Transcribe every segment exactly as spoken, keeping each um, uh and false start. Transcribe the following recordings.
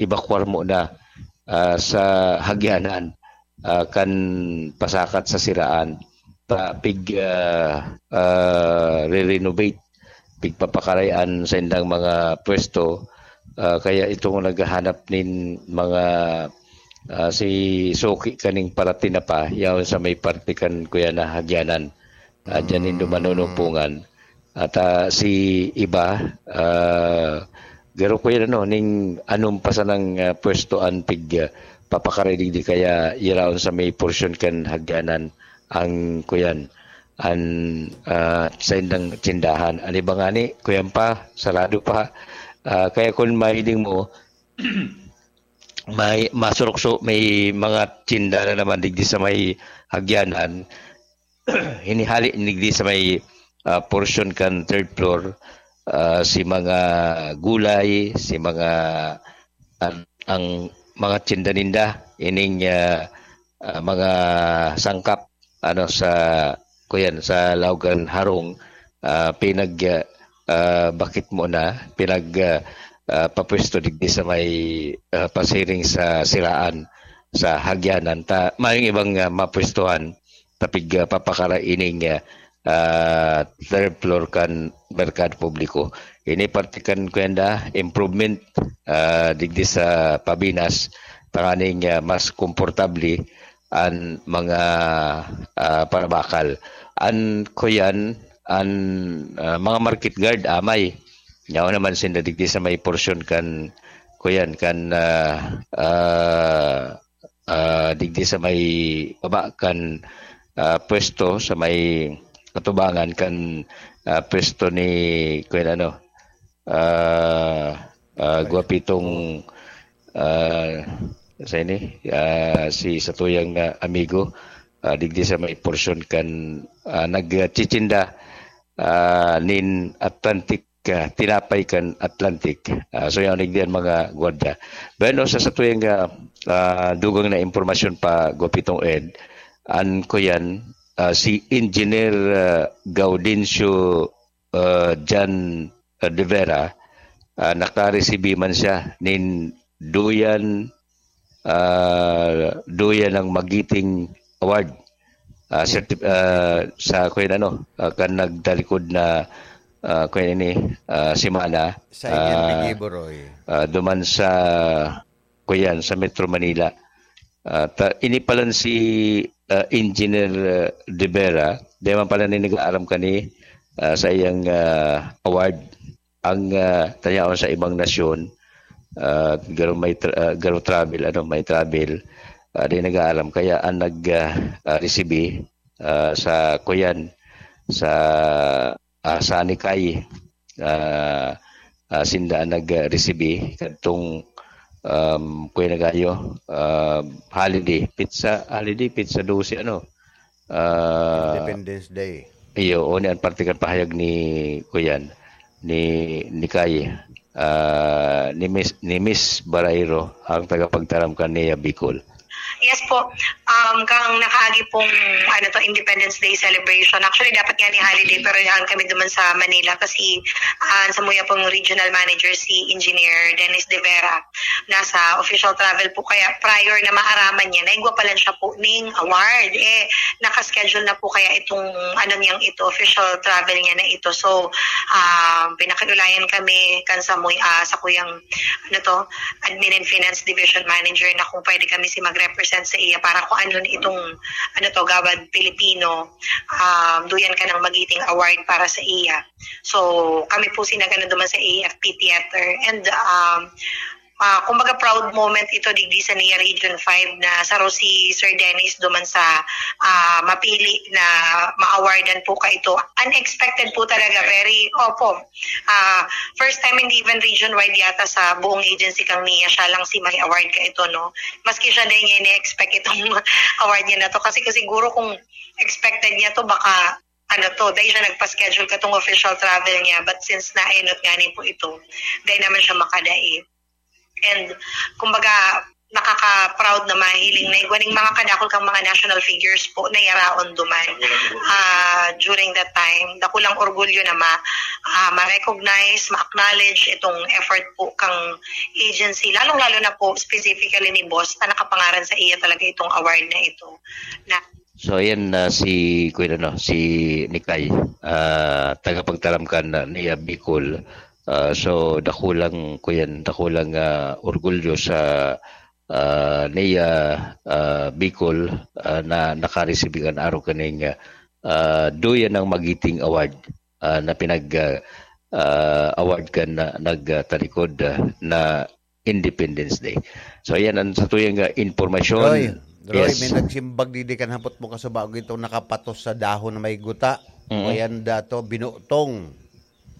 ebakwar mo na ah, sa Hagyanan, ah, kan pasakat sa siraan, pa, pig, ah, ah, re-renovate, pigpapakaray an saindang mga pwesto. Ah, kaya itong naghahanap nin mga, ah, si suki kaning paratinapa, yaon sa may parte kan kuya na Hagyanan. Ah, dyan nindo manunupungan. At, ah, si iba, ah, garo ko yan, ano, ning anom pa sanang, ah, pwesto an pig, ah, papakaray digdi kaya yaraon sa may porsyon kan Hagyanan ang kuyan, an, ah, saindang tindahan. An iba ngani, kuyan pa, sarado pa. Ah, kaya kun mahiling mo, may masurukso, may mga tinda na naman digdi sa may Hagyanan. Hinihali digdi sa may, ah, porsyon kan third floor, ah, si mga gulay, si mga, an-, ang mga tinda-ninda, ining, ah, ah, mga sangkap, ano, sa, kuyan, sa Laogan Harong, ah, pinag, ah, ah, bakit mo na, pinag, ah, ah, papwesto digdi sa may, ah, pasiring sa siraan, sa Hagyanan. Ta, mayong ibang, ah, mapwestuhan, tapig, ah, papakara ining, ah, ah, third floor kan merkado publiko. Ini parte kan kuyan da, improvement, ah, digdi sa Pabinas, tanganing, ah, mas komportable an mga, ah, parabakal. An kuyan, an, ah, mga market guard, amay. Yaon naman sinda digdi sa may porsyon kan, kuyan, kan, ah, ah, ah, digdi sa may baba kan, ah, pwesto, sa may katubangan kan, ah, pwesto ni, kuyan, ano, ah, ah, Guapitong, ah, sa ini, ah, si satuyang, ah, amigo, ah, digdi sa may porsyon kan, ah, nagtitinda, ah, nin Atlantic, ah, tinapay kan Atlantic. Ah, so, yan, digdi an mga gwardiya. Bueno, sa satuyang, ah, ah, dugang na impormasyon pa, Guapitong Ed, an kuyan, ah, si Engineer, ah, Gaudencio, ah, Jan, ah, de Vera, ah, nakaresibi man siya nin duyan, ah, duyan ng Magiting Award. Ah, certi-, ah, sa, kuyan, ano, ah, kan nagtalikod na, ah, kuyan ini, ah, semana, Sa Indian ah, Bigibo, Roy. ah, duman sa, kuyan, sa Metro Manila. Ah, ta-, ini palan si, ah, Engineer, ah, De Vera, di man pala ni nag-aaram kani, ah, sa iyang, ah, award. Ang, ah, tayaon sa ibang nasyon, ah, garo may tra-, ah, garo travel, ano, may travel, ah, di nag-aaram. Kaya ang nag, ah, ah, resibi, ah, sa kuyan, sa, ah, sa Nikay, ah, ah, sinda ang nag-resibi kadtong, um, kuya na gayo, ah, holiday, petsa, holiday, petsa dose, ano, ah, Independence Day. Iyo, o ni an parte kan pahayag ni kuyan, ni, ni Kay, ah, ni Miss, ni Miss Barayro, ang tagapagtaram kan Nia Bicol. Yes po. Um, kang nakaagi pong, ano to, Independence Day celebration. Actually, dapat nga ni holiday, pero yan kami duman sa Manila kasi, ah, sa muya pong regional manager si Engineer Dennis De Vera. Nasa official travel po, kaya prior na maaraman niya, naigwa pa lang siya po ning award. Eh, nakaschedule na po kaya itong, ano niyang ito, official travel niya na ito. So, ah, pinakiulayan kami kan sa muya, ah, sa kuyang, ano to, Admin and Finance Division Manager na kung pwede kami si mag-represent sa iya para kung ano itong, ano to, Gawad Pilipino, um, duyan ka ng Magiting Award para sa iya. So, kami po si nagano duman sa A F P Theater. And, um, ah, kumbaga proud moment ito digdi sa Nia Region five na saro si Sir Dennis duman sa, ah, mapili na ma-awardan po ka ito. Unexpected po talaga, very, opo. Ah, first time, hindi even region-wide yata sa buong agency kang Nia, siya lang si may award ka ito, no? Maski siya, di niya ini-expect itong award niya na to. Kasi, kasi siguro kung expected niya to, baka, ano to, dahil siya nagpa-schedule ka tong official travel niya. But since naenot nga ni po ito, dahil naman siya makadait. And, kumbaga, nakaka-proud na mahiling na igwa ning mga kadakul kang mga national figures po na yaraon duman, ah, during that time. Dakulang orgulyo na ma-, ah, ma-recognize, ma-acknowledge itong effort po kang agency, lalong-lalo na po specifically ni Boss na nakapangaran sa iya talaga itong award na ito. Na So, ayan na si, kuya, ano, si Nikay, ah, tagapagtaram kan na niya Bicol. Ah, so, dakulang, kuyan, dakulang, ah, orgulyo sa, ah, niya, ah, Bicol, ah, na nakaresibir kan arog kaning, ah, Duyan ng Magiting Award, ah, na pinag, ah, ah, award kan na nagtalikod, ah, na Independence Day. So, ayan ang sa tuyang, ah, impormasyon. Roy, Roy, Yes. may nagsimbag didi kan hapot mo kasubago itong nakapatos sa dahon na may guta. Mm. Ayan dato, binutong.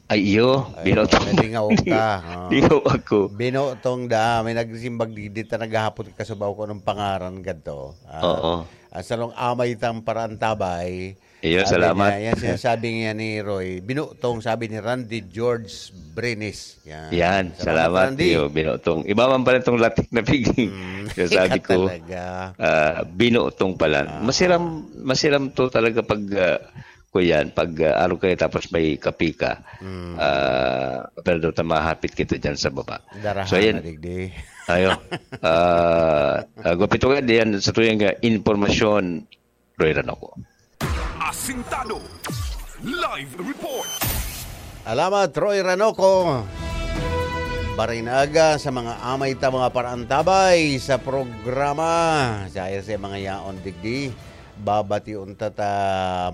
Ay, iyo, Ay, binutong. Nalingaw ka. Oh. Lingaw ako. Binutong da, may nagsimbag didi ta naghahapot kasubago ko anong pangaran gadto. Ah, Oo. Ang sarong amay tang paraantabay, Iyo, Sabi salamat. niya, yan sinasabi niya ni Roy, binutong, sabi ni Randy George Brenes. Yan. Yan, Salamat, salamat, Randy. Iyo, binutong. Iba man pala itong latik na piging. Mm, Kaya sabi ikaw ko, talaga. ah, binutong pala. Ah. Masiram, masiram to talaga pag, ah, kuyan, pag, ah, araw kayo tapos may kape ka. Mm. Ah, pero doon mahapit kita dyan sa baba. Darahan So, yan. na digdi. Ayo. Ah, ah, gupit ko yan, yan sa tuyang, ah, impormasyon, Roy Ranoco. Asintado. Live report. Alamat, Roy Ranoco. Barinaga sa mga amay ta mga paraantabay sa programa. Sa sa mga yaon digdi, babati unta ta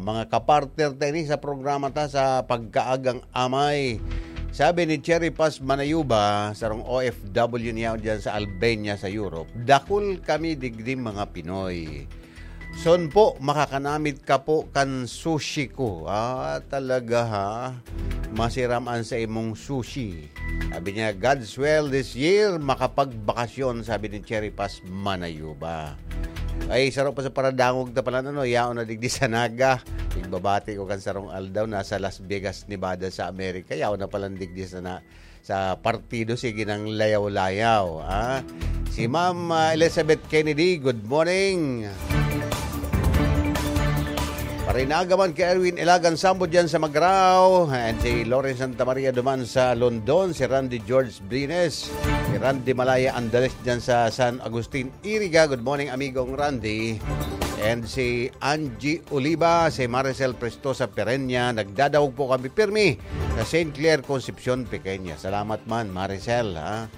mga kapartner ta ini sa programa ta sa pagkaagang amay. Sabi ni Cherry Paz Manayuba, sarong O F W niya dyan sa Albania, sa Europe, "Dakul kami digdi mga Pinoy." Son po, makakanamit ka po kan sushi ko. Ah, talaga ha? Masiram an sa imong sushi. Sabi niya, "God's will this year, makapagbakasyon," sabi ni Cherry Paz Manayuba. Ay, saro pa sa paradangog ta pala, ano, yaon na digdi sa Naga. Igbabati ko kan sarong aldaw, nasa Las Vegas, Nevada sa Amerika. Yaon na pala digdi sa na, sa partido, sige nang layaw-layaw, ah. Si Ma'am, ah, Elizabeth Kennedy, good morning. Parinaga man kay Erwin Ilagan Sambo dyan sa Magrao, and si Lawrence Santa Maria duman sa London, si Randy George Brines, si Randy Malaya Andales dyan sa San Agustin, Iriga. Good morning, amigong Randy. And si Angie Oliva, si Maricel Prestosa Perenya, nagdadangog po kami pirmi sa Saint Clair, Concepcion, Pequeña. Salamat man, Maricel, ha?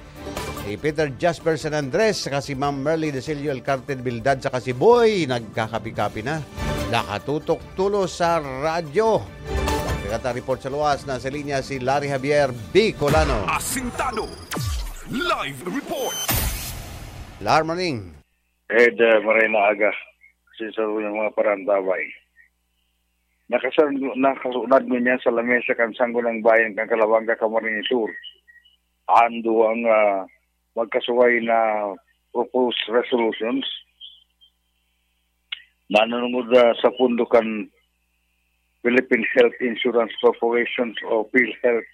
Si Peter Jasper San Andres, saka si Ma'am Merly Desilio Alcarte Bildad, saka si Boy, nagkakapi-kapi na. Nakatutok tulos sa radyo. Pagkakata report sa luwas, nasa linya si Larry Javier Bicolano. Asintado. Live report. Larmaning. Ed, ah, maray na aga. Sa sarong mga parantabay. Nakasar-, nakasunod ngunyan sa lamesa kan Sangguniang Bayan kan Calabanga, Camarines Sur, an duwang, ah, magkasuway na proposed resolutions nanunungod, ah, sa pondo kan Philippine Health Insurance Corporation o PhilHealth.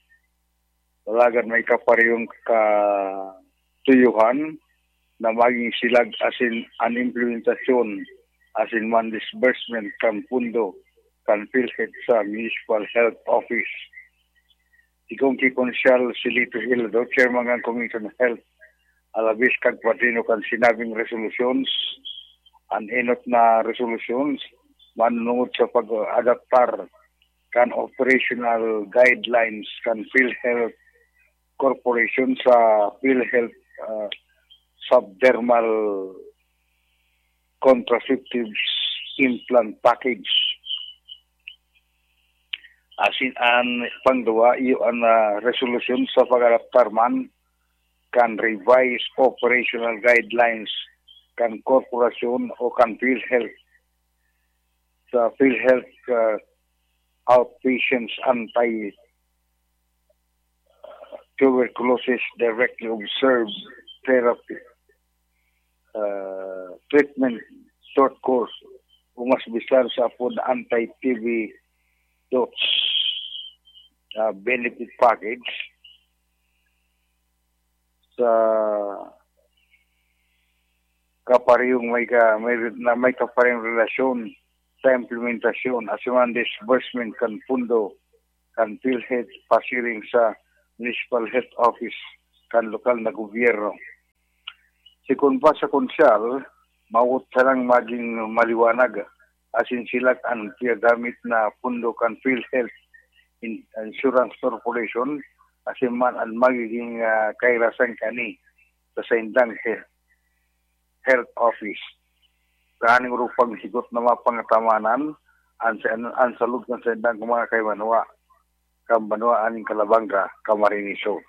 Alagad may kaparehong katuyuhan na maging silag asin an implementasyon asin man disbursement kan pondo kan PhilHealth sa Municipal Health Office. Si Congke Consial Silito Hilado, Chairman kan Committee on Health, alabis kan kwadrino kan sinabing resolutions, an enot na resolutions, manunungod sa pag-adaptar kan operational guidelines kan PhilHealth Corporation sa PhilHealth, ah, subdermal contraceptive implant package. Asin an pangduwa, iyo an, ah, resolusyon sa pag-adaptar man kan revised operational guidelines kan korporasyon o kan PhilHealth sa PhilHealth, ah, outpatients anti, ah, tuberculosis directly observed therapy, ah, treatment short course o mas bisan sa apod anti-T B dots, ah, benefit package. Sa kaparehong may ka-, may re-, na may kaparehong relasyon sa implementasyon asin man disbursement kan pondo kan PhilHealth pasiring sa Municipal Health Office kan lokal na gobyerno. Sigon pa sa Konsehal, mawot sanang magin maliwanag asin silak an piyagamit na pondo kan PhilHealth In-, Insurance Corporation asin man an magiging, ah, kairasan kani sa saindang he-, health office. Tanganing orog paghigot na mapangatamanan an sa, an salud kan saindang mga kaibanwa, kan banwa aning Calabanga, Camarines Sur.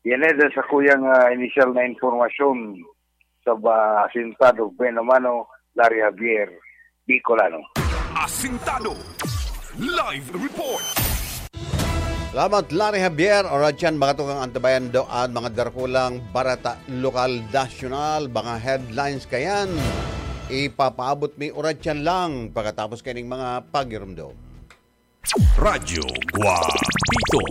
Yan eh, sa kuyang, ah, inisyal na impormasyon sa ba, Asintado, Buena Mano, Larry Javier, Bicolano. Asintado Live Report. Salamat, Larry Javier. Oras yan, mga tukang antabayan do at mga darakulang barata lokal, nasyonal, mga headlines kayan. Ipapaabot mi oras yan lang pagkatapos kaning mga pagirumdom. Radyo Guapito.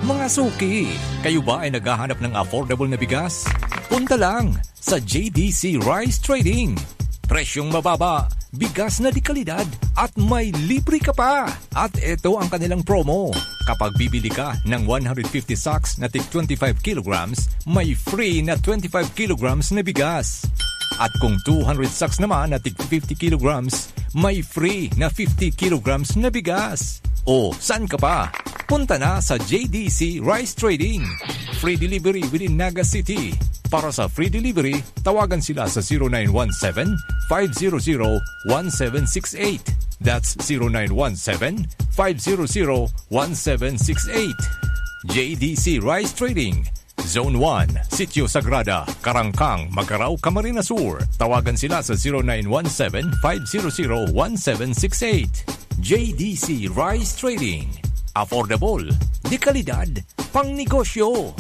Mga suki, kayo ba ay naghahanap ng affordable na bigas? Punta lang sa J D C Rice Trading. Presyong mababa, bigas na de kalidad, at may libre ka pa! At eto ang kanilang promo. Kapag bibili ka ng one hundred fifty sacks na tig twenty-five kilograms, may free na twenty-five kilograms na bigas. At kung two hundred sacks naman na tig fifty kilograms, may free na fifty kilograms na bigas. O, saan ka pa? Punta na sa J D C Rice Trading. Free delivery within Naga City. Para sa free delivery, tawagan sila sa zero nine one seven, five zero zero, one seven six eight. That's zero nine one seven, five zero zero, one seven six eight. J D C Rice Trading, Zone one, Sitio Sagrada, Karangkang, Magarao, Camarines Sur. Tawagan sila sa zero nine one seven, five zero zero, one seven six eight. J D C Rice Trading. Affordable, de kalidad, pangnegosyo.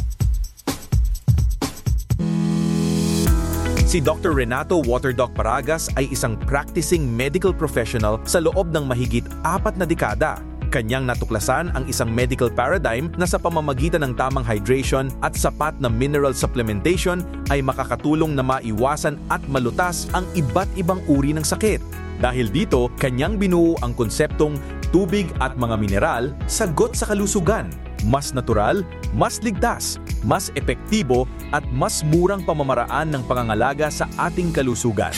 Si Doctor Renato Waterdoc Paragas ay isang practicing medical professional sa loob ng mahigit apat na dekada. Kanyang natuklasan ang isang medical paradigm na sa pamamagitan ng tamang hydration at sapat na mineral supplementation ay makakatulong na maiwasan at malutas ang iba't ibang uri ng sakit. Dahil dito, kanyang binuo ang konseptong tubig at mga mineral, sagot sa kalusugan. Mas natural, mas ligtas, mas epektibo at mas murang pamamaraan ng pangangalaga sa ating kalusugan.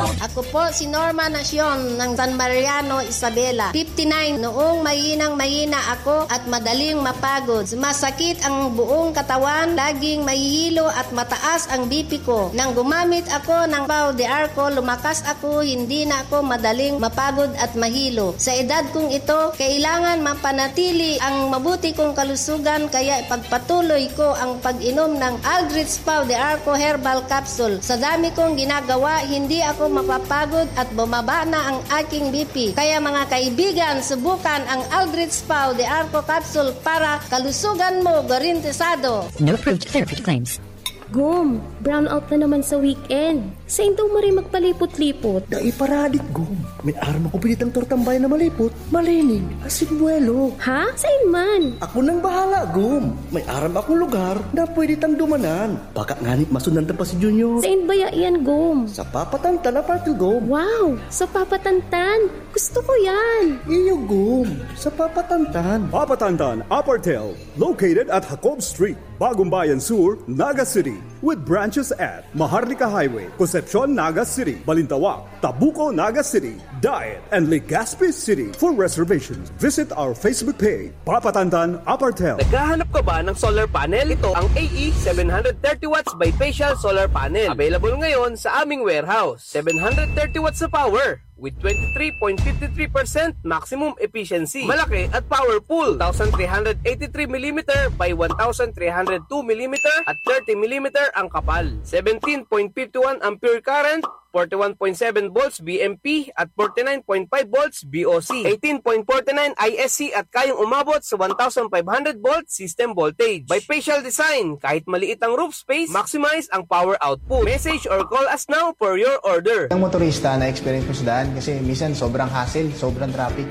Ako po si Norma Nacion ng San Mariano, Isabela, fifty-nine. Noong mahinang mahina ako at madaling mapagod, masakit ang buong katawan, laging mahihilo at mataas ang B P ko. Nang gumamit ako ng Pau de Arco, lumakas ako, hindi na ako madaling mapagod at mahilo. Sa edad kong ito, kailangan mapanatili ang mabuti kong kalusugan, kaya ipagpatuloy ko ang pag-inom ng Aldrich Pau de Arco Herbal Capsule. Sa dami kong ginagawa, hindi ako mapapagod at bumaba na ang aking B P. Kaya mga kaibigan, subukan ang Aldrich Pau de Arco Capsule para kalusugan mo garantisado. No approved therapy claims. Gom, brownout na naman sa weekend. Sain daw maray magpalipot-lipot? Dai paradik, Gom. May aram ako pwede tang tortambay na malipot, malinig, asin buwelo. Ha? Sain man? Ako nang bahala, Gom. May aram akong lugar na pwede tang dumanan. Baka nganit masundan ta pa si Junior. Sain baya yan, Gom? Sa Papatantan Apartel, Gom. Wow! Sa Papatantan? Gusto ko yan! Iyo, Gom. Sa Papatantan. Papatantan Apartel, located at Jacob Street. Bagumbayan Sur, Naga City, with branches at Maharlika Highway, Concepcion, Naga City, Balintawak, Tabuco, Naga City, Daet, and Legazpi City. For reservations, visit our Facebook page, Papatantan Apartel. Naghahanap ka ba ng solar panel? Ito ang A E seven hundred thirty watts bifacial solar panel. Available ngayon sa aming warehouse. Seven hundred thirty watts na power with twenty-three point fifty-three percent maximum efficiency. Malaki at powerful. Two thousand three hundred eighty-three millimeter by one thousand three hundred two millimeter at thirty millimeter ang kapal. Seventeen point fifty-one ampere current, forty-one point seven volts V M P at forty-nine point five volts V O C. Eighteen point forty-nine I S C at kayang umabot sa one thousand five hundred volt system voltage. Bifacial design, kahit maliit ang roof space, maximize ang power output. Message or call us now for your order. Ang motorista, na-experience ko sa daan kasi minsan sobrang hassle, sobrang traffic.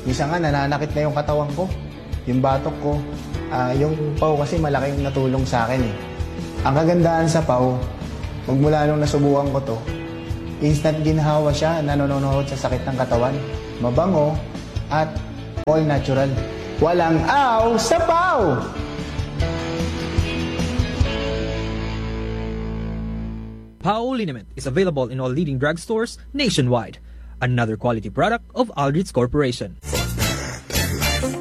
Minsan nga, nananakit na yung katawan ko. Yung batok ko, ah, yung paw kasi malaking natulong sa akin eh. Ang kagandahan sa paw, magmula nung nasubukan ko to, instant ginhawa siya na nanonood sa sakit ng katawan. Mabango at all natural. Walang aw sa paw! Pao liniment is available in all leading drugstores nationwide. Another quality product of Aldrich Corporation.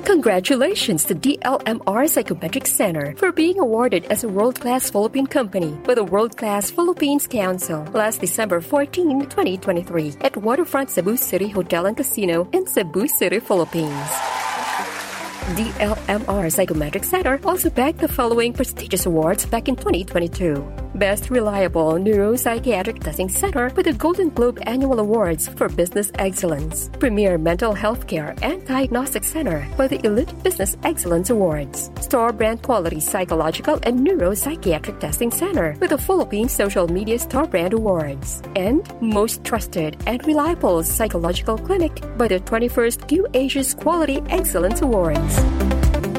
Congratulations to D L M R Psychometric Center for being awarded as a world-class Philippine company by the World Class Philippines Council last December fourteen, twenty twenty-three, at Waterfront Cebu City Hotel and Casino in Cebu City, Philippines. D L M R Psychometric Center also bagged the following prestigious awards back in twenty twenty-two. Best Reliable Neuropsychiatric Testing Center with the Golden Globe Annual Awards for Business Excellence. Premier Mental Health Care and Diagnostic Center for the Elite Business Excellence Awards. Star Brand Quality Psychological and Neuropsychiatric Testing Center with the Philippine Social Media Star Brand Awards. And most trusted and reliable psychological clinic by the twenty-first Q Asia's Quality Excellence Awards.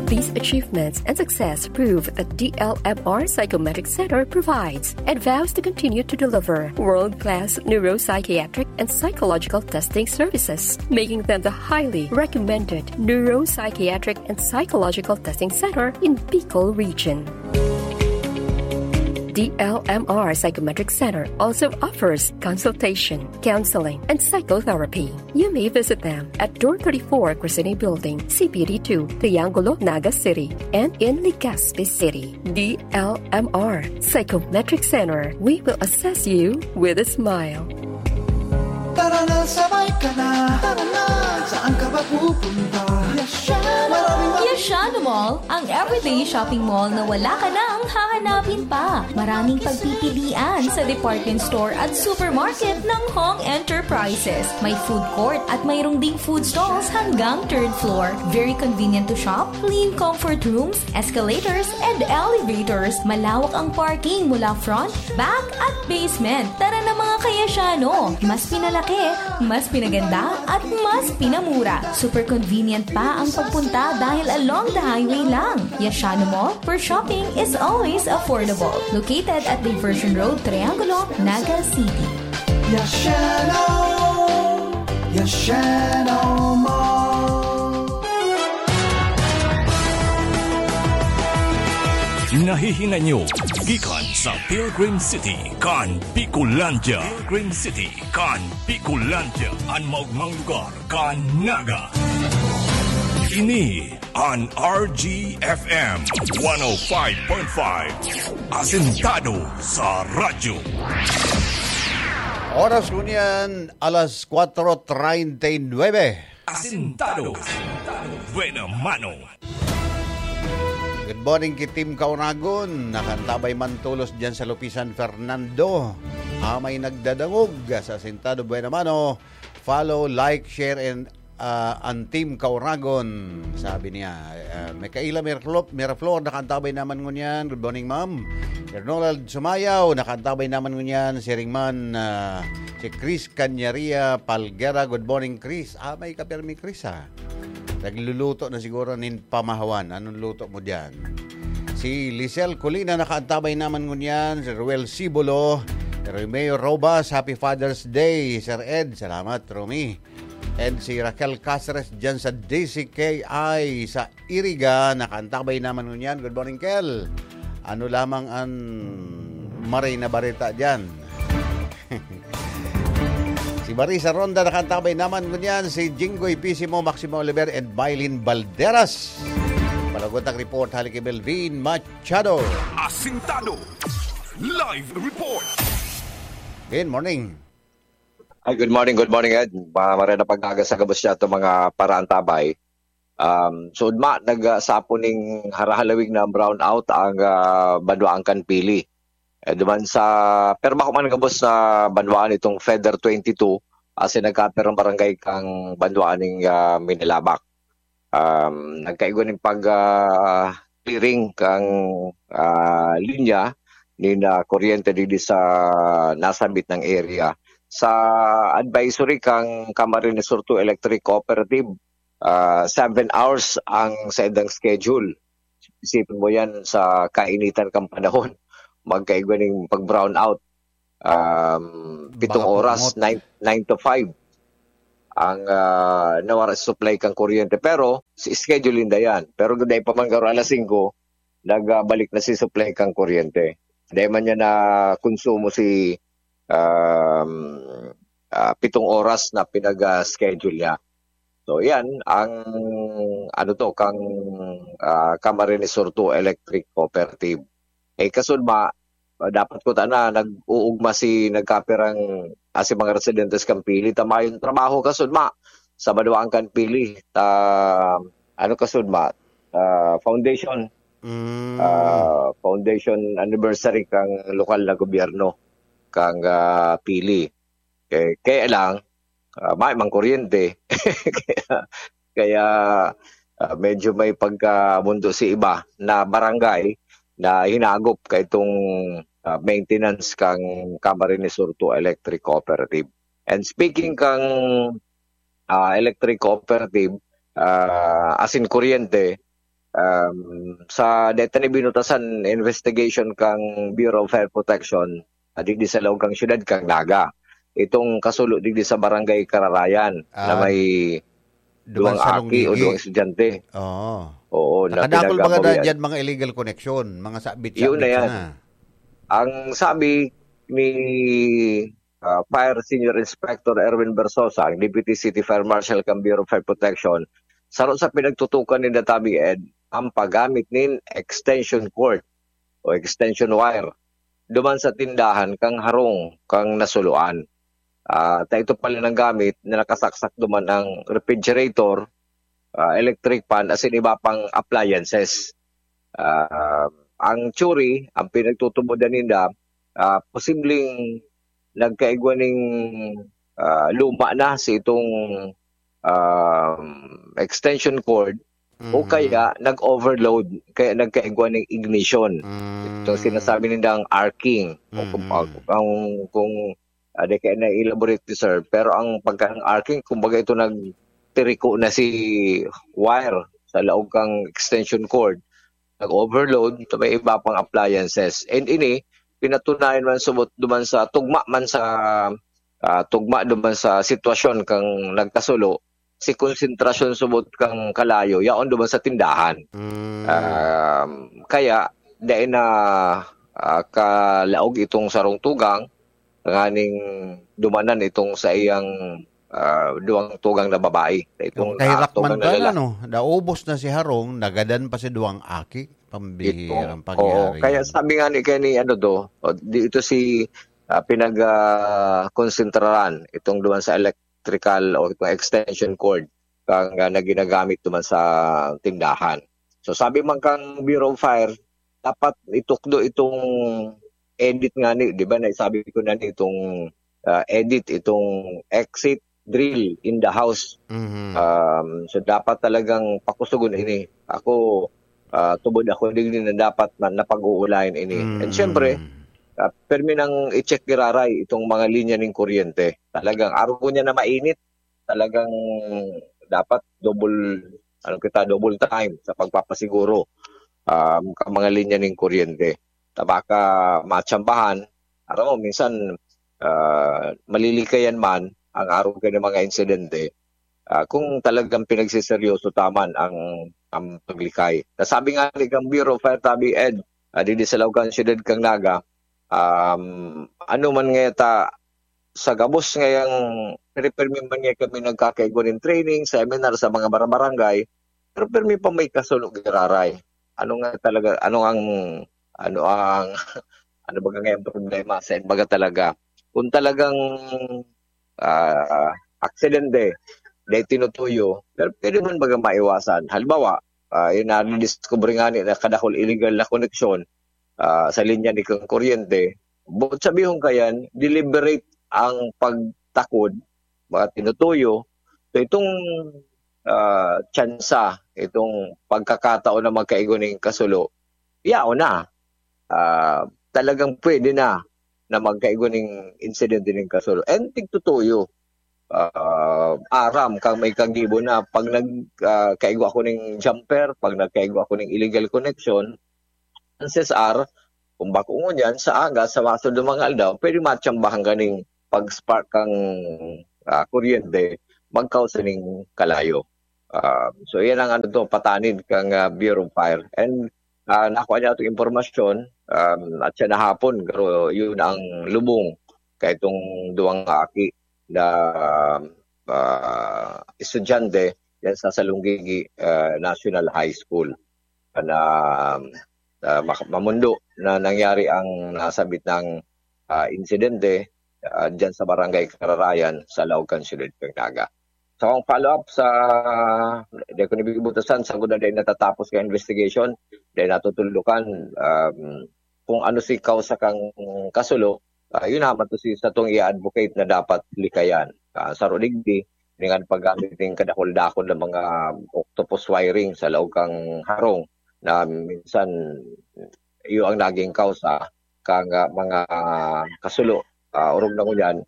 These achievements and success prove that D L M R Psychometric Center provides and vows to continue to deliver world-class neuropsychiatric and psychological testing services, making them the highly recommended neuropsychiatric and psychological testing center in Bicol Region. D L M R Psychometric Center also offers consultation, counseling, and psychotherapy. You may visit them at Door thirty-four, Crescene Building, C P D two, Triangulo, Naga City, and in Legazpi City. D L M R Psychometric Center. We will assess you with a smile. Tara na, sabay ka na. Tara na, saan ka ba pupunta? Yashano! Maraming Yashano Mall, ang everyday shopping mall na wala ka nang hahanapin pa. Maraming pagpipilian sa department store at supermarket ng Hong Enterprises. May food court at mayroong ding food stalls hanggang third floor. Very convenient to shop, clean comfort rooms, escalators, and elevators. Malawak ang parking mula front, back, at basement. Tara na, mga ka-Yashano! Mas pinalaki, mas pinaganda, at mas pinamura. Super convenient pa ang pagpunta dahil along the highway lang. Yashano Mall, where shopping is always affordable. Located at Diversion Road, Triangulo, Naga City. Yashano! Yashano Mall! Nahihinay nyo gikan sa Pilgrim City kan Bicolandia. Pilgrim City kan Bicolandia, an maogmang lugar kan Naga. Ini an R G F M one oh five point five, asentado sa radyo. Oras ngunyan, alas kwatro treinta y nueve. Asentado. Buena mano. Good morning ki Team Kauragon. Nakantabay man tolos diyan sa Lupisan, Fernando. Amay nagdadangog sa Asentado Buena Mano. Follow, like, share, and ah, an Team Kauragon, sabi niya. Ah, Micaela Mirflo-, Miraflor, nakantabay naman ngunyan. Good morning, ma'am. Ronald Sumayaw, nakantabay naman ngunyan. Siring man, ah, si Chris Canyaria Palguera. Good morning, Chris. Ah, may kapirmi, Chris, ha? Nagluluto na siguro nin pamahawan. Anong luto mo diyan? Si Lisel Colina, nakaantabay naman ngunyan. Si Ruel Sibolo, Romeo Robas, Happy Father's Day, Sir Ed. Salamat, Romy. And si Raquel Caceres dyan sa D C K I sa Iriga, nakaantabay naman ngunyan. Good morning, Kel. Ano lamang ang maray na bareta dyan? Si Marisa Ronda nakaantabay naman ngunyan, si Jinggoy Pisimo, Maximo Oliver, and Mylene Balderas. Palagot ang report, hali kay Melvin Machado. Asintado. Live report. Good morning. Ay, good morning, good morning, Ed. Ma- Maray na pag-aga sa gabos niya itong mga paraantabay. Um, so, ma, nag, ah, sapo ning harahalawig na brownout ang ah, banwaan kan Pili. Eh, duman sa, pero bako man gabos na banwaan itong Feather twenty-two, kasi nagkapirang barangay kang banwaan ning ah, Minilabak. Um, nagkaigo ning pag ah, clearing kang ah, linya ni na kuryente digdi sa nasambit ng area. Sa advisory kang Camarines Sur two Electric Cooperative, ah, seven hours ang saindang schedule. Isipin mo yan sa kainitan kang panahon. Magkaigwa ning pag-brownout. Um, pitong Baka oras, pungot. nine, nine to five ang, ah, nawara sa supply kang kuryente. Pero, si schedule ninda yan. Pero dai pa man garo alas singko, nagbalik na si supply kang kuryente. Dai man niya na konsumo si, um, ah, pitong oras na pinag-, ah, schedule niya. So, yan ang ano to, kang, ah, Camarines Sur two Electric Cooperative. Eh, kasudma, ah, dapat ko tana nag-uugma si nagkapirang, ah, si mga residentes kan Pili ta mayong trabaho kasudma. Sabado ang kan Pili ta ano kasudma, ah, foundation, Mm. ah, foundation anniversary kang lokal na gobyerno kang, ah, Pili. Eh, kaya lang, ah, may mang kuryente. Kaya, kaya, ah, medyo may pagkamundo si iba na barangay na hinagop kaitong, ah, maintenance kang Camarines Sur two Electric Cooperative. And speaking kang, ah, electric cooperative, ah, asin kuryente, um, sa deta ni binutasan investigation kang Bureau of Fire Protection, ah, digdi sa laog kang syudad kang Naga. Itong kasulo digdi sa Barangay Kararayan na Ah, may duwang duwang salong aki o ligi. duwang estudyante. Oo. Oo, na Nakadakol mga pinagabawian. dyan, mga illegal connection, mga sabit-sabit Yun na yan. sana. Ang sabi ni, ah, Fire Senior Inspector Erwin Versosa, ang Deputy City Fire Marshal kan Bureau of Fire Protection, saro sa pinagtutukan ni Databi Ed, ang paggamit nin extension cord o extension wire duman sa tindahan kang harong kang nasuluan. Ah, ta ito pala nang gamit na nakasaksak duman ang refrigerator, ah, electric fan, asin iba pang appliances. Ah, ang theory, ang pinagtutubod na ninda, ah, posibleng nagkaigwa ning, ah, luma na si itong, um, extension cord o Mhm. kaya nag-overload, kaya nagkaigwa ning ignition. Ito Mm. sinasabi nindang arcing. O kung, Mm-mm. ang, kung, ah, di kaya na-elaborate ni sir, pero ang pagka ng arcing, kumbaga ito nagtiriko na si wire sa laog kang extension cord, nag-overload, sa may iba pang appliances. And ini, pinatunayan man subot duman sa tugma man sa, ah, tugma duman sa sitwasyon kang nagkasulo, si konsentrasyon subot kang kalayo, yaon duman sa tindahan. Mm. Um, kaya, dai na, ah, kalaog itong sarong tugang, nganing dumanan itong sa iyang, ah, duwang tugang na babae. Itong, Yung kahirak ah, tugang man na pala, lalaki. no? Naubos na si Harong, nagadan pa si duwang aki. Pambihirang Ito. Oo, pangyayari kaya yan. sabi nga ni, kaya ni ano to, o, di ito si, ah, pinag, ah, konsentraran, itong duman sa electrical o itong extension cord kang, ah, na ginagamit duman sa tindahan. So, sabi man kang Bureau of Fire, dapat itukdo itong edit nga ni, di ba, naisabi ko na ni itong, ah, edit, itong exit drill in the house. Mhm. Um, so, dapat talagang pakusugon ini. Ako, ah, tubod ako digdi na dapat na, napag-uulayan ini. And Mm. syempre, ah, permi nang i-check giraray itong mga linya ning kuryente. Talagang arog niya na mainit, talagang dapat double, ano kita, double time sa pagpapasiguro, um, ka mga linya ning kuryente. Ta baka matsambahan, aram mo, minsan, ah, malilikayan man ang arog kan mga insidente, ah, kung talagang pinagseseryoso ta man ang, ang paglikay. Nasabi nga ni kang Bureau of Fire Tabi Ed, ah, digdi sa laog kan siyudad kang Naga, um, ano man nga ta, sa gabos ngayang pirmi man nga kami nagkakaigwa nin training, seminar sa mga bara-, barangay, pero pirmi pa may kasulo giraray. Ano nga talaga, ano ang, ano ang, ano ba nga ang problema sa baga talaga? Kung talagang, ah, aksidente, dahil tinutuyo, pero pwede man baga maiwasan. Halimbawa, ah, yung nadidiscover nga ni na kadakol illegal na koneksyon, ah, sa linya ni kang kuryente, buot sabihon kayan, deliberate ang pagtakod, mga tinutuyo. So, itong, ah, tsansa, itong pagkakataon na magkaigo ning kasulo, yaon na. Ah, talagang pwede na, na magkaigo ning insidente ning kasulo. And tigtutuyo, ah, aram kang may kagibo na pag nag, ah, kaigwa ako ning jumper, pag nagkaigwa ako ning illegal connection, chances are, kung bako ngunyan, sa aga, sa masunod na mga aldaw, pwede matsambahan ka ning pag-spark kang, ah, kuryente, magkausa ning kalayo. Ah, so, yan ang ano to, patanid kang, ah, Bureau of Fire. And, ah, nakuha niya itong impormasyon, um, at siya nahapon, pero yun ang lubong kay itong duwang aki na, ah, estudyante yan sa Salonggigi, ah, National High School na, ah, mak-, mamundo na nangyari ang nasabit ng, ah, insidente, ah, diyan sa Barangay Kararayan sa Laog kan Siyudad kan Naga. So, ang follow-up sa, di ko nabibutasan, sa guna dahil natatapos ka investigation, dahil natutulukan, um, kung ano si kausa kang kasulo, ah, yun naman to si, sa tong i-advocate na dapat likayan. Ah, sa Rodigdi, dengan paggamit ng kadakol-dakol na mga octopus wiring sa laog kang harong na minsan iyo ang naging kausa kang, ah, mga kasulo, ah, orog na ngunyan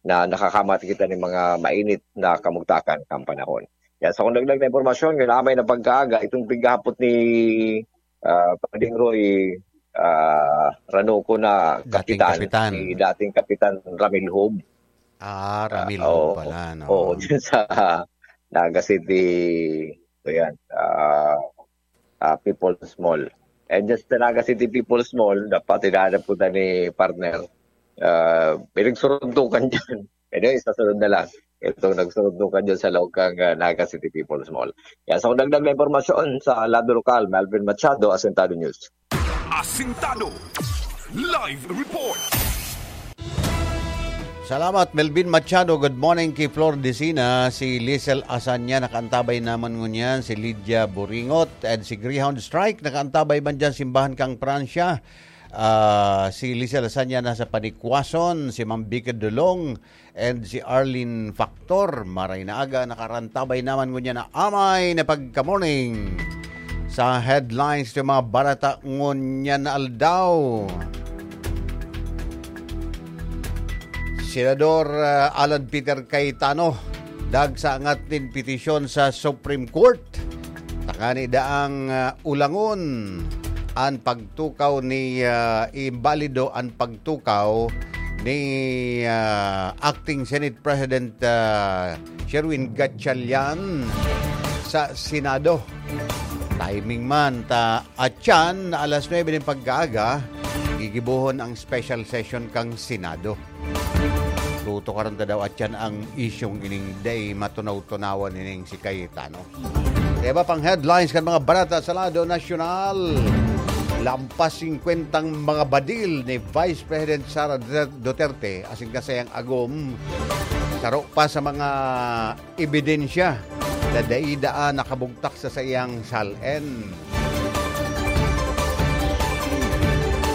na nakakamati kita ng mga mainit na kamugtakan kang panahon. Yan, sa kung dagdag na impormasyon, ngayon amay na pagkaaga, itong pighapot ni, ah, Pading Roy, ah, Ranoco na Dating kapitan, kapitan. Si dating Kapitan Ramil Hub. Ah, Ramil Ah, Hub oo. pala, no? Oo, dyan sa Naga City, so yan, ah, ah, People's Mall. And just the Naga City People's Mall, dapat hinahanap ko na ni partner. Ah, pinagsuruntukan dyan. Anyway, sa sunod na lang. Itong nagsuruntukan dyan sa loob kang, ah, Naga City People's Mall. Yan, sa kung dagdag na impormasyon sa lado lokal, Melvin Machado, Asintado News. Asintado Live Report. Salamat, Melvin Machado. Good morning ki Flor Decina. Si Liesel Asanya nakaantabay naman ngunyan. Si Lydia Buringot and si Greyhound Strike nakaantabay man dyan simbahan kang Pransya. Ah, si Liesel Asanya nasa Panikwason, si Ma'am Vicky Dulong, and si Arlene Factor. Maray na aga, nakarantabay naman ngunyan na amay na pagka-morning sa headlines ng mga barata ngunyan na aldaw. Senador, ah, Alan Peter Cayetano, dagsa angat nin petisyon sa Supreme Court. Tangani daang, ah, ulangon an pagtukaw ni, ah, imbalido an pagtukaw ni, ah, Acting Senate President, ah, Sherwin Gatchalian sa Senado. Timing man ta, atyan na alas nuebe nin pagkaaga, gigibohon ang special session kang Senado. Tutukaran ta daw atyan ang isyong ining day matunaw-tunawan ining si Cayetano. Iba pang headlines kan mga barata sa lado nasyonal. Lampas singkwentang mga badil ni Vice President Sara Duterte asin kasayang agom, saro pa sa mga ebidensya na dai daa nakabugtak sa saiyang sal-en.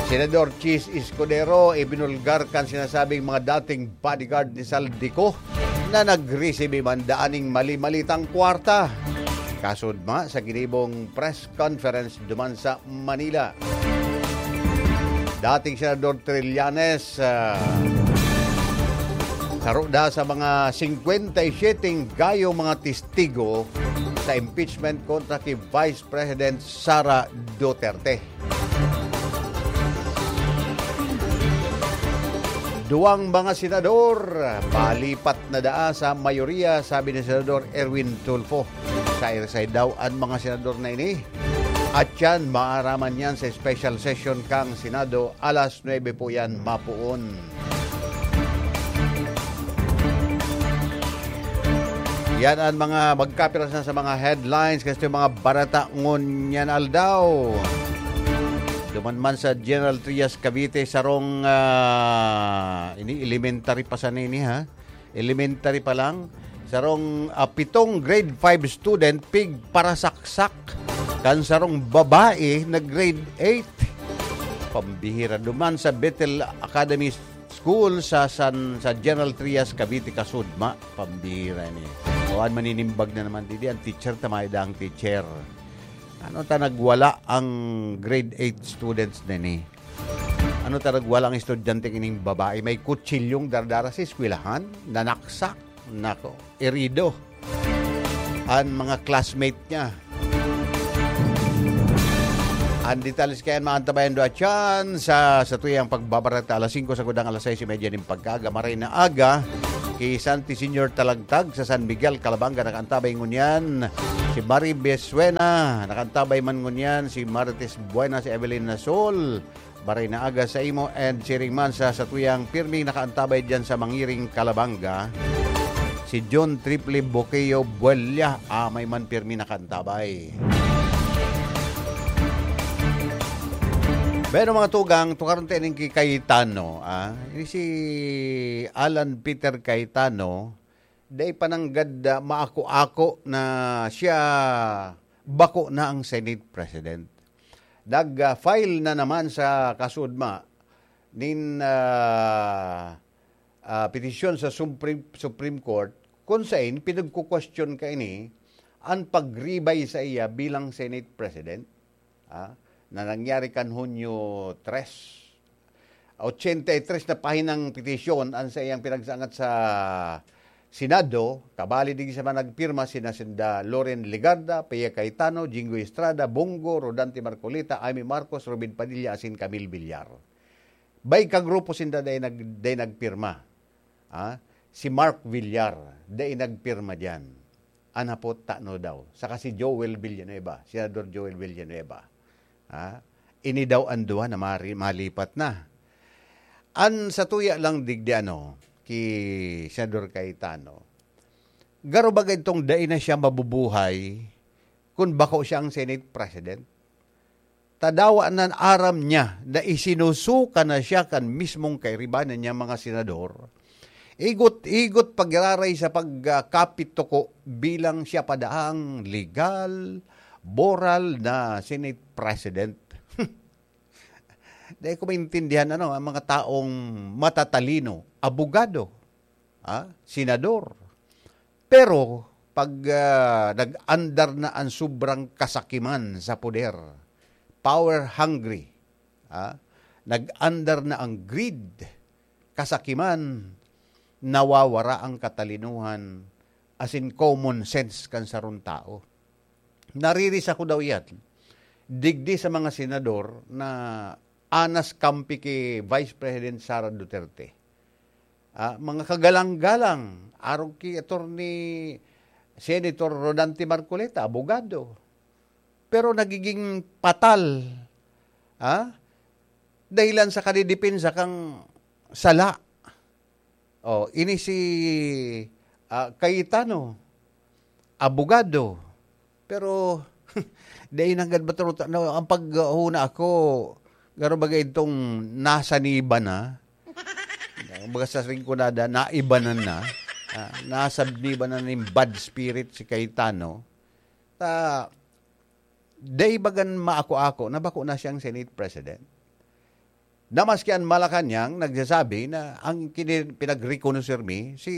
Senador Chiz Escudero ibinulgar kan sinasabing mga dating bodyguard ni Zaldy Co na nagresibi man daan ning mali-malitang kwarta. Kasudma sa ginibong press conference duman sa Manila. Dating Senador Trillanes, ah, saro da sa mga singkwenta y siyete gayong mga testigo sa impeachment kontra ki Vice President Sara Duterte. Duwang mga senador, malipat na daa sa mayoriya, sabi ni Senador Erwin Tulfo. Sairasay daw an mga senador na ini. At yan, maaraman yan sa special session kang Senado alas nuebe po yan mapuon. Yan ang mga magkapirasa sa mga headlines kasi yung mga barata ngunyan aldaw. Duman man sa General Trias, Cavite, sarong, ah, ini elementary pa sana ini, ha? Elementary pa lang, sarong, ah, pitong grade five student pigparasaksak kan sarong babae na grade eight. Pambihira. Duman sa Bethel Academy School sa San, sa General Trias, Cavite, kasudma. Pambihira ini. O, an maninimbag na naman didi, ang teacher, tamay da ang teacher. Ano ta nagwala ang grade eight students nini? Ano ta nagwala ang estudyante kining babae? May kutsilyong dardara sa eskwelahan, nanaksak. Nako, erido an mga classmate niya. Ang detalye kaya maantabayan duwa tiyan sa satuyang pagbabareta alas singko sagkod alas sais y media nin pagkaaga. Maray na aga, ki Santi Senior Talagtag sa San Miguel, Calabanga, nakaantabay ngunyan. Si Mari Besuena, nakaantabay man ngunyan. Si Marites Buena, si Evelyn Nasol, maray na aga sa imo, and siring man sa satuyang pirming nakaantabay diyan sa Mangiring, Calabanga, si John Triple Boqueo Buella, ah, may man pirmi nakaantabay. Pero mga tugang, tukaron tayo ning ki Cayetano, ah. Ini si Alan Peter Cayetano, dai pa nanggad, ah, maako-ako na siya bako na ang Senate President. Nag, ah, file na naman sa kasudma nin, ah, ah, petisyon sa Supreme, Supreme Court kung sain pinagkukwestiyon kaini an pagribay sa iya bilang Senate President, ah, na nangyari kan Hunyo tres. Ochenta y tres na pahinang petisyon an saiyang pinagsangat sa Senado, kabali digdi sa mga nagpirma sina sinda Loren Legarda, Pia Cayetano, Jinggoy Estrada, Bong Go, Rodante Marcoleta, Imee Marcos, Robin Padilla, asin Camille Villar. Bay ka grupo sinda dai nag-, dai nagpirma. Ah, si Mark Villar, dai nagpirma diyan. An hapot, tano daw? Saka si Joel Villanueva, Senador Joel Villanueva. Ah, ini daw an duwa na mari-, malipat na. An satuya lang digdi ano, ki Senador Cayetano, garo baga itong dai na siya mabubuhay kun bako siya ang Senate President? Ta dawa nan aram niya na isinusuka na siya kan mismong kairibanan niyang mga senador. Igot-igot pagiraray sa pagkapituko bilang siya pa daang legal, moral na Senate President. Dai ko maintindihan, ano, ang mga taong matatalino, abogado, ah, senador. Pero pag, ah, nag-andar na ang sobrang kasakiman sa poder, power hungry, ah, nag-andar na ang greed, kasakiman, nawawara ang katalinuhan, asin common sense kan sarong tao. Naririsa ko daw yan digdi sa mga senador na anas kampi ki Vice President Sara Duterte. Ah, mga kagalang-galang, arog ki Attorney Senator Rodante Marcoleta, abogado. Pero nagiging patal, ah, dahilan sa kadidepensa kang sala. Oh, ini si, ah, Cayetano, abogado. Pero, dai nanggad matulog. No, ang paghuna ako, garo baga itong nasa niba na. Baga sa ringkunada, naibanan na. Ah, nasa niba na ning bad spirit si Cayetano. Ta, dai bagan maako-ako na bako na siyang Senate President. Na maski an Malacañang nagsasabi na ang kini-, pinagrekonoser mi si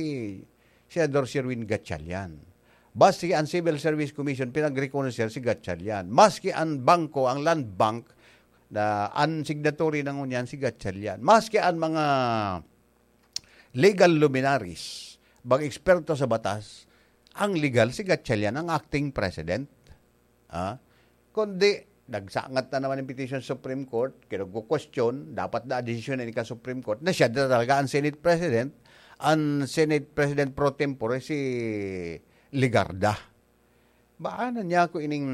Senador Sherwin Gatchalian. Maski an Civil Service Commission pinagrekonoser si Gatchalian. Maski an bangko, ang Land Bank, na an signatory na ngunyan si Gatchalian. Maski an mga legal luminaries, mga eksperto sa batas, ang legal si Gatchalian, ang acting president. Ah, kundi, nagsangat na naman ang petition sa Supreme Court, kinugkukwestiyon, dapat na desisyon na ka Supreme Court, na siya na talaga ang Senate President, ang Senate President pro tempore si Legarda. Baan na niya ako ining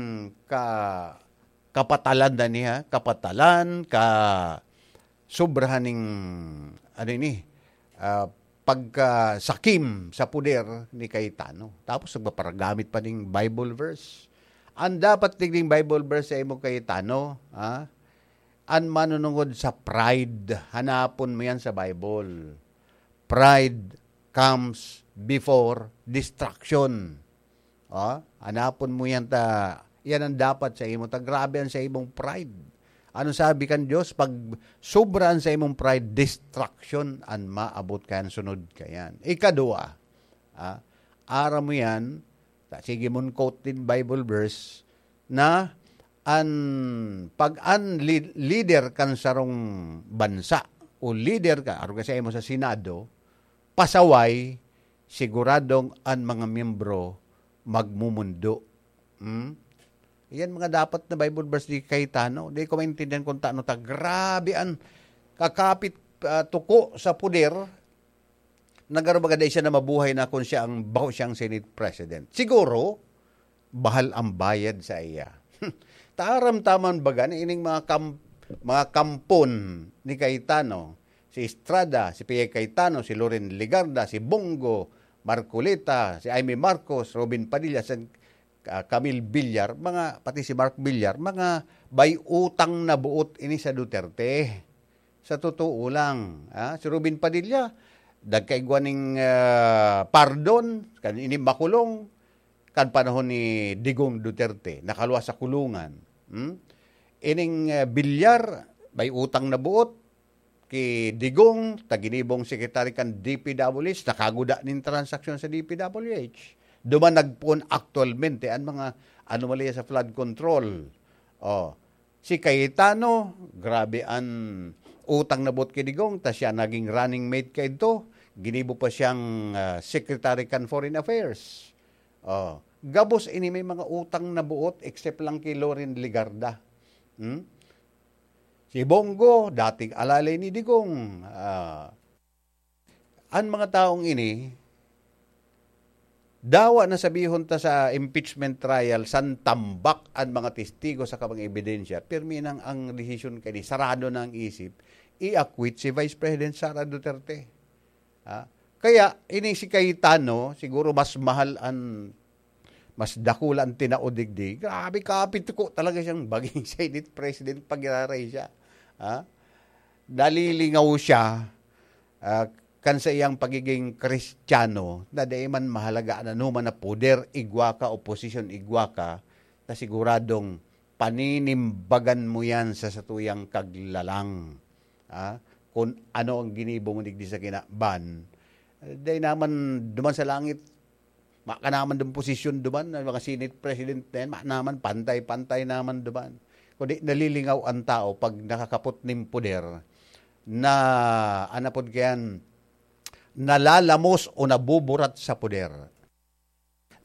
ka-, kapatalan na niya, kapatalan, ka-, sobrahan ning, ano ini, ah, pagkasakim sa poder ni Cayetano. Tapos nagpaparagamit pa ning Bible verse. Ang dapat digding Bible verse sa imo, Cayetano, ha? An manunungod sa pride, hanapon mo yan sa Bible. "Pride comes before destruction." Oh, hanapon mo yan ta, yan ang dapat sa imo ta. Grabe ang sa imong pride. Ano sabi kan Dios? Pag sobra ang sa imong pride, destruction ang maabot ka yan, sunod ka yan. Ikadua, ah, aram mo yan, ta, sige mong quote din Bible verse na an, pag an li-, leader kan sarong bansa o leader ka, arog ka sa imo sa Senado, pasaway, siguradong an mga miyembro magmumundo. Hmm? Yan mga dapat na Bible verse ni Cayetano. Di ko maintindihan kung taano ta. Grabe an kakapit, ah, tuko sa poder. Nagaro baga dai siya na mabuhay na kung siya ang, bako siyang Senate President. Siguro, bahal ang bayad sa iya. Taram taman baga na ining mga kam-, mga kampon ni Cayetano, si Estrada, si Pia Cayetano, si Loren Legarda, si Bong Go, Marcoleta, si Imee Marcos, Robin Padilla, si, ah, Camille Villar, mga, pati si Mark Villar, mga bay utang na buot ini sa Duterte, sa totoo lang. Ah, si Robin Padilla, nagkaigwa ning, ah, pardon, kan ini makulong, kan panahon ni Digong Duterte, nakaluwas sa kulungan. Hmm? Ining, ah, Villar, bay utang na buot, ki Digong, ta ginibong sekretary kan D P W H, nakaguda nin transaksyon sa D P W H. Duman nagpoon aktualmente an mga anomalya sa flood control. Oh, si Cayetano, grabe an utang na buot ki Digong, ta siya naging running mate kaidto. Ginibo pa siyang, ah, secretary kan Foreign Affairs. Oh, gabos ini may mga utang na buot, except lang ki Loren Legarda. Hmm? Si Bong Go, dating alalay ni Digong. Ah, an mga taong ini, dawa na sabihon ta sa impeachment trial, san tambak an mga testigo saka mga ebidensya, pirmi nang ang desisyon kani, sarado na ang isip, i-acquit si Vice President Sara Duterte. Ha? Kaya, ini si Cayetano, siguro mas mahal an, mas dakula an tinao digdi. Grabe, kapituko talaga siyang maging Senate President pag iraray siya. Ha? Nalilingaw siya, ah, kan sa iyang pagiging Kristiyano, na dai man mahalaga an anoman na poder, igwa ka, o posisyon, igwa ka, na siguradong paninimbagan mo yan sa satuyang kaglalang. Ah, kung ano ang ginibo mo digdi sa kinaban, dai naman duman sa langit, ma ka naman dun posisyon duman, ang mga Senate President na yan, ma naman, pantay-pantay naman duman. Kundi nalilingaw ang tao pag nakakapot nin poder na, ano pod kayan, nalalamos o nabuburat sa poder.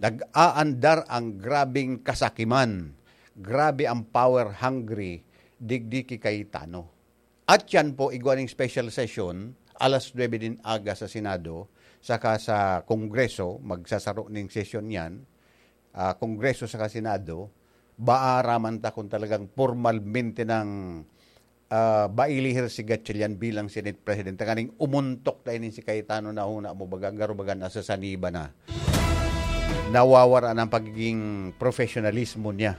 Nag-aandar ang grabeng kasakiman, grabe ang power hungry, digdi ki Cayetano. At yan po, igwa ning special session, alas nuebe nin aga sa Senado, saka sa Kongreso, magsasaro ning sesyon yan, ah, Kongreso saka Senado, baaraman ta kung talagang pormalmente nang, ah, mailihir si Gatchalian bilang Senate President. Tanganing umuntok na ini si Cayetano na huna mo, baga, garo baga nasa saniba na. Nawawara na ang pagiging professionalismo niya.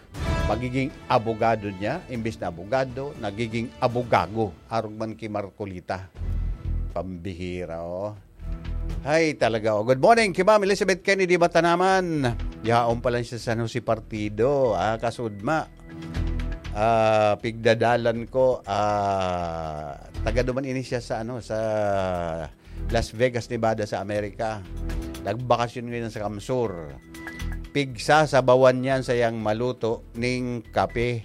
Pagiging abogado niya, imbis na abogado, nagiging abogago. Arog man ki Marcolita. Pambihira, oh. Hay, talaga, oh. Good morning ki Ma'am Elizabeth Kennedy Matanaman. Yaon pa lang siya sa San Jose Partido. Ah, kasudma. Ah, pigdadalan ko, ah, taga duman ini siya sa, ano, sa Las Vegas, Nevada sa Amerika. Nagbakasyon ngayon sa Kamsur. Pigsasabawan niyan sa yang maluto ning kape.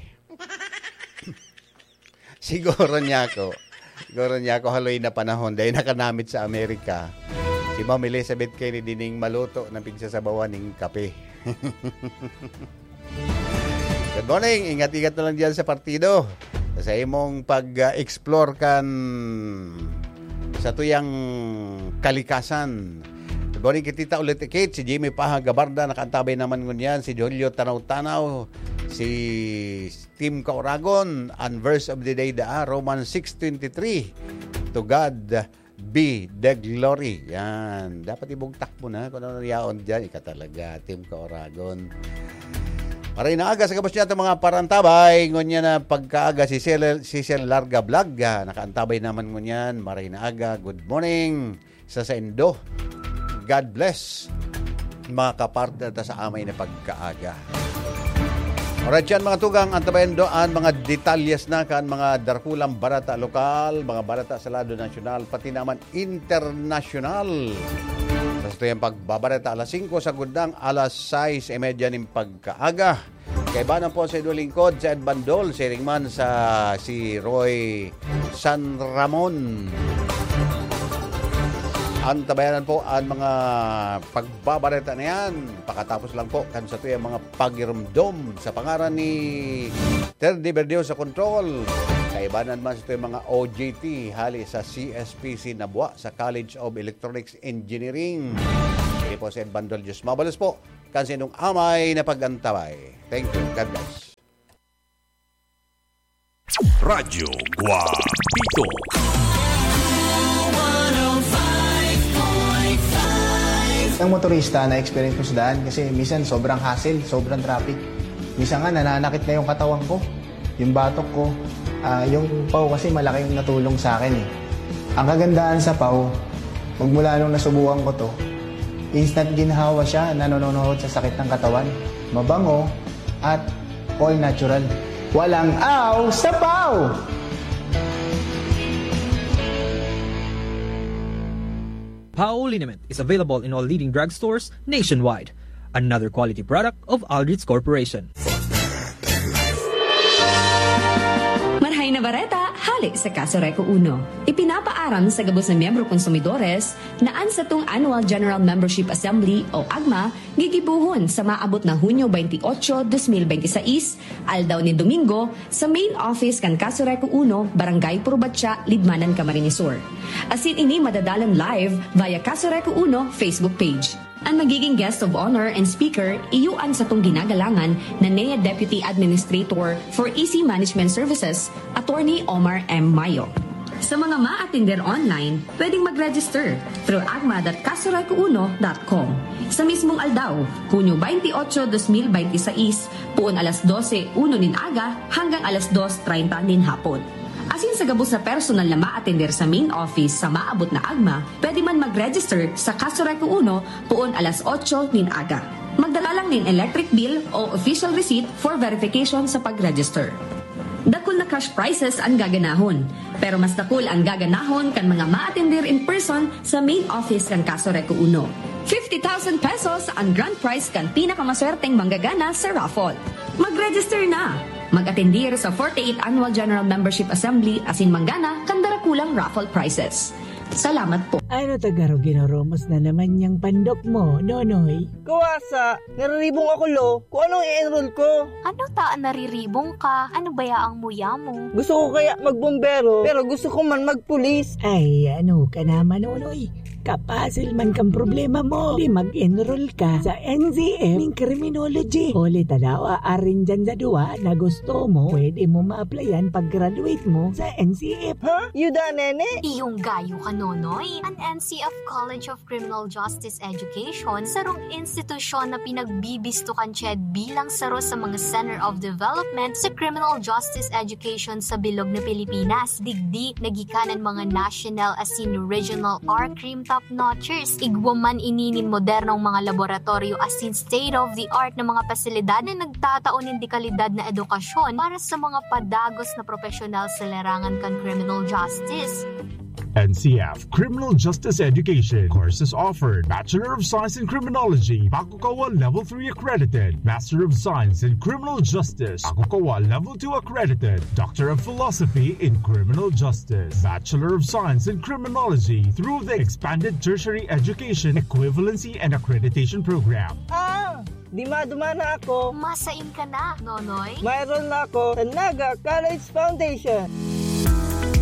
Siguro niya ako. Siguro niya ako haloy na panahon dahil nakanamit sa Amerika. Si Ma'am Elizabeth Kennedy ning maluto na pigsasabawan ning kape. Good morning. Ingat-ingat na lang diyan sa partido. Sa imong pag-explore kan sa tuyang kalikasan. Good morning, kitita ulit, Kate. Si Jimmy Paha Gabarda, nakaantabay naman ngunyan. Si Julio Tanaw-Tanaw, si Tim Kauragon, ang verse of the day daa, Romans six twenty-three. To God be the glory. Yan. Dapat ibugtak mo na kung ano yaon dyan. Ika talaga, Tim Kauragon. Maray na aga sa gabos niya itong mga parantabay. Ngunyan na pagkaaga si Cecil, Cecil Larga Vlog. Ah, nakaantabay naman ngunyan. Maray na aga. Good morning sa saindo. God bless, mga kapartner ta sa amay na pagkaaga. Alright, yan, mga tugang, antabayan do an mga detalyes na kan mga dakulang barata lokal, mga barata sa lado nasyonal, pati naman internasyonal. Sa satuyang pagbabareta, alas singko, sagkod nang alas sais y media nin pagkaaga. Kaiba na po sa inyong lingkod, sa Ed Bandol, siring man sa si Roy San Ramon. Antabayanan po an mga pagbabareta na yan. Pakatapos lang po kan satuyang mga pagirumdom sa pangaran ni Terdy Berdio sa control. Kaibanan man satuyang mga O J T hali sa C S P C Nabua sa College of Electronics Engineering. Ini po si Ed Bandol Diyos. Mabalos po kan sinong amay na pag-antabay. Thank you. God bless. Radyo Guapito. Ang motorista na experience ko sa daan kasi minsan sobrang hassle, sobrang traffic. Minsan nga nananakit na yung katawan ko, yung batok ko, uh, yung pau kasi malaki yung natulong sa akin eh. Ang kagandahan sa pau, magmula nung nasubukan ko to, instant ginhawa siya, nanononohod sa sakit ng katawan. Mabango at all natural. Walang aw sa pau! Pau liniment is available in all leading drugstores nationwide. Another quality product of Aldrich Corporation. Marhay na bareta, hali sa Kaso Reco Uno. Ipinapaaram sa gabos na miyembro konsumidores na an satong Annual General Membership Assembly o agma gigibohon sa maabot na Hunyo twenty-eight, twenty twenty-six, aldaw nin Domingo, sa main office kan Kaso Reco Uno, Barangay Purbatya, Libmanan, Camarines Sur. Asin ini madadalan live via Kaso Reco Uno Facebook page. An magiging guest of honor and speaker iyo an satong ginagalangan na N E A Deputy Administrator for E C Management Services, Attorney Omar M. Mayo. Sa mga maatender online, pwedeng mag-register through agma dot kasoreco uno dot com. Sa mismong aldaw, Hunyo twenty-eight, twenty twenty-six, poon alas dose uno nin aga hanggang alas dos treinta nin hapon. Asin sa gabos na personal na maatender sa main office sa maabot na agma, pwede man mag-register sa Kaso Reco Uno poon alas otso nin aga. Magdala lang nin electric bill o official receipt for verification sa pag-register. Dakul na cash prizes an gaganahon, pero mas dakul an gaganahon kan mga maatender in person sa main office kan Kaso Reco Uno. Fifty thousand pesos an grand prize kan pinakamaswerteng manggagana sa raffle. Mag-register na! Mag-atendir sa forty-eight Annual General Membership Assembly asin manggana kan darakulang raffle prizes. Salamat po. Ano ta garo ginurumos na naman yang pandok mo, Nonoy? Kawasa, nariribong ako, lo. Kung anong i-enroll ko. Ano ta an nariribong ka? Ano baya ang muya mo? Gusto ko kaya magbombero, pero gusto ko man magpulis. Ay, ano ka naman, Nonoy? Kapasil man kang problema mo. Di mag-enroll ka sa N C F ning criminology. Huli ta daw, arin dyan sa duwa na gusto mo, pwede mo ma-applyan pag-graduate mo sa N C F. Ha? Yuda, nene? Iyong gayo ka, Nonoy. An N C F College of Criminal Justice Education, sarong institusyon na pinagbibisto kan CHED bilang saro sa mga Center of Development sa Criminal Justice Education sa bilog na Pilipinas. Digdi, nagikanan mga national asin regional R-Crime top-notchers. Igwa man ini nin modernong mga laboratoryo asin state-of-the-art na mga pasilidad na nagtatao nin dekalidad na edukasyon para sa mga padagos na propesyonal sa larangan kan criminal justice. N C F Criminal Justice Education. Courses offered: Bachelor of Science in Criminology, Bakukawa Level three accredited; Master of Science in Criminal Justice, Bakukawa Level two accredited; Doctor of Philosophy in Criminal Justice, Bachelor of Science in Criminology through the Expanded Tertiary Education Equivalency and Accreditation Program. Ah! Dima-duma na ako. Masain ka na, Nonoy. Ma-enroll na ako sa Naga College Foundation.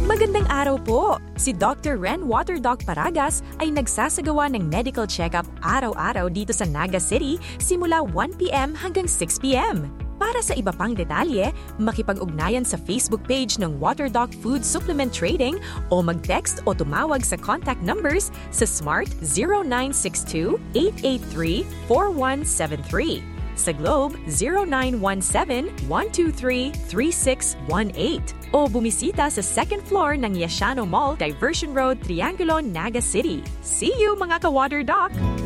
Magandang araw po! Si Doctor Ren Water Doc Paragas ay nagsasagawa ng medical check-up araw-araw dito sa Naga City simula one p.m. hanggang six p.m. Para sa iba pang detalye, makipag-ugnayan sa Facebook page ng Water Doc Food Supplement Trading o mag-text o tumawag sa contact numbers sa Smart zero nine six two, eight eight three, four one seven three, sa Globe zero nine one seven, one two three, three six one eight, o bumisita sa second floor ng Yashano Mall, Diversion Road, Triangulo, Naga City. See you, mga ka-Water Doc!